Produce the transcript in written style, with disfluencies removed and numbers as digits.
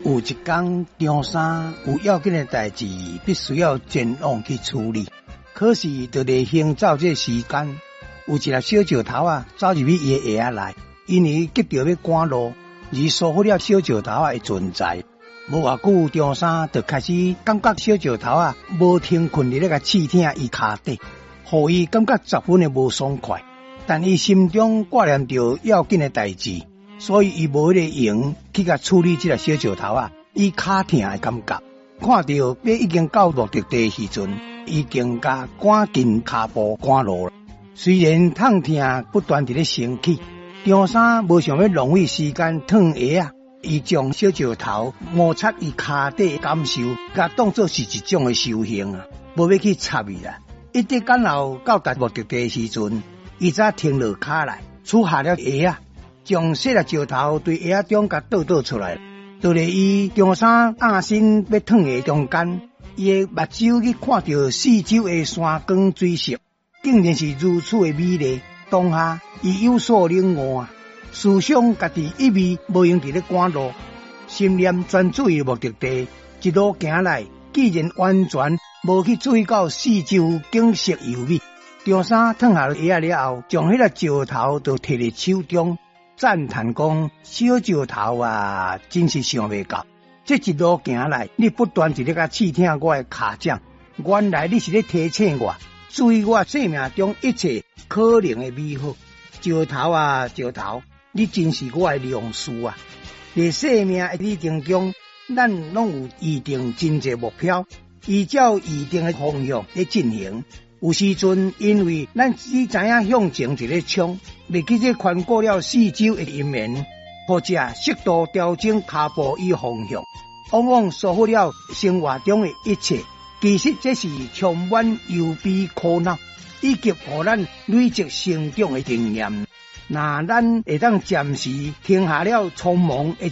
有一工，張三有要緊的代誌，必須要前往去處理。可是，佇咧行走這時間，有一粒小石頭仔走入去伊的鞋仔內，因為急著欲趕路，而疏忽了小石頭仔的存在。無偌久，張三就開始感覺小石頭仔無停睏佇咧共刺疼伊跤底，予伊感覺十分的無爽快。但伊心中掛念著要緊的代誌，所以伊無彼个閒去共處理這粒小石頭仔，伊跤疼的感覺。看著欲已經到目的地時陣，伊更加趕緊跤步趕路。雖然痛疼不斷佇咧升起，張三無想欲浪費時間脫鞋仔，伊將小石頭摩擦伊跤底感受，共當做是一種的修行啊，無欲去插伊啦。一直趕到到達目的地時陣，伊才停落跤來，取下了鞋仔，將細粒石頭對鞋仔中共倒倒出來。佇咧伊張三壓身欲脫鞋中間，伊的目睭去看著四周的山光水色，竟然是如此的美麗。當下，伊有所領悟啊，思想家己一味無閒佇咧趕路，心念專注於目的地，一路行來，竟然完全無去注意到四周景色優美。張三脫下鞋仔了後，將彼粒石頭就提佇手中，讚嘆講：小石頭啊，真是想袂到，這一路行來，你不斷佇咧共刺疼我的跤掌，原來你是咧提醒我，注意我生命中一切可能的美好。石頭啊，石頭，你真是我的良師啊！佇生命的旅程中，咱攏有預定真濟目標，依照預定的方向咧進行。有時陣，因為咱只知影向前一个衝，袂記這環顧了四周的因緣，或者適度調整跤步與方向，往往疏忽了生活中的一切。其實這是充滿憂悲苦惱，以及予咱累積成長的經驗。若咱會當暫時停下了匆忙的